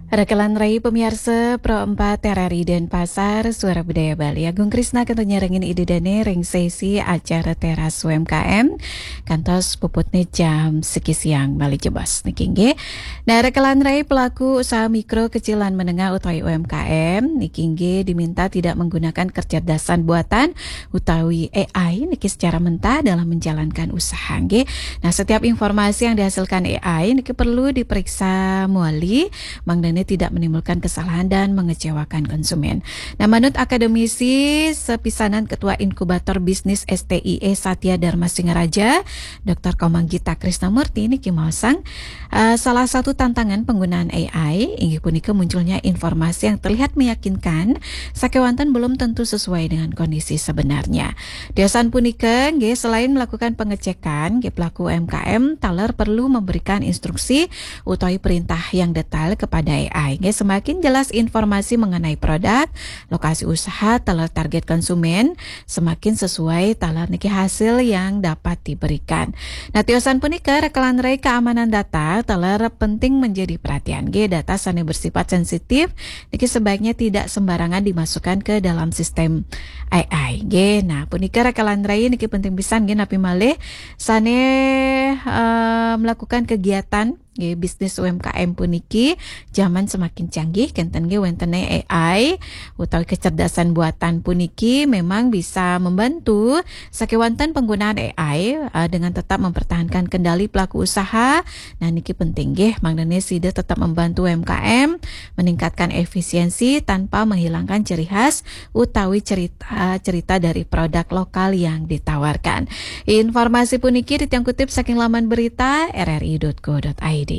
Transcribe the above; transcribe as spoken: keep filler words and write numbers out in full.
Rekelan rai pemiarsa Pro empat R R I Denpasar, Suara Budaya Bali. Agung Krisna kantun nyarengin ida dane ring sesi acara Teras U M K M, kantos puputne jam siki siang malih jebos niki nggih. Nah, rekelan rai pelaku usaha mikro, kecil lan menengah utawi U M K M niki nggih diminta tidak menggunakan kecerdasan buatan utawi A I niki secara mentah dalam menjalankan usaha nggih. Nah, setiap informasi yang dihasilkan A I niki perlu diperiksa mawali mangdane tidak menimbulkan kesalahan dan mengecewakan konsumen. Nah, manut akademisi sepisanan Ketua Inkubator Bisnis S T I E Satya Dharma Singaraja, Doktor Komang Gita Krisnamurti niki maosang, eh, salah satu tantangan penggunaan A I inggih punika munculnya informasi yang terlihat meyakinkan sakewanten belum tentu sesuai dengan kondisi sebenarnya. Tiosan punika nggih, selain melakukan pengecekan, nggih, pelaku U M K M taler perlu memberikan instruksi utawi perintah yang detail kepada A I. Nggih, semakin jelas informasi mengenai produk, lokasi usaha, taler target konsumen, semakin sesuai taler niki hasil yang dapat diberikan. Nah, tiosan punika rekelan rai keamanan data taler penting menjadi perhatian. Nggih, data sane bersifat sensitif niki sebaiknya tidak sembarangan dimasukkan ke dalam sistem A I. Nggih, nah, punika rekelan rai niki penting pisan nggih, napi malih sane, eh, melakukan kegiatan nggih, bisnis U M K M puniki zaman semakin canggih, kenten nggih wentene A I utawi kecerdasan buatan puniki memang bisa membantu sakewanten penggunaan A I, eh, dengan tetap mempertahankan kendali pelaku usaha. Nah, niki penting nggih, mangdane sida tetap membantu U M K M meningkatkan efisiensi tanpa menghilangkan ciri khas utawi cerita-cerita dari produk lokal yang ditawarkan. Informasi puniki titiang kutip saking laman berita R R I dot co dot I D.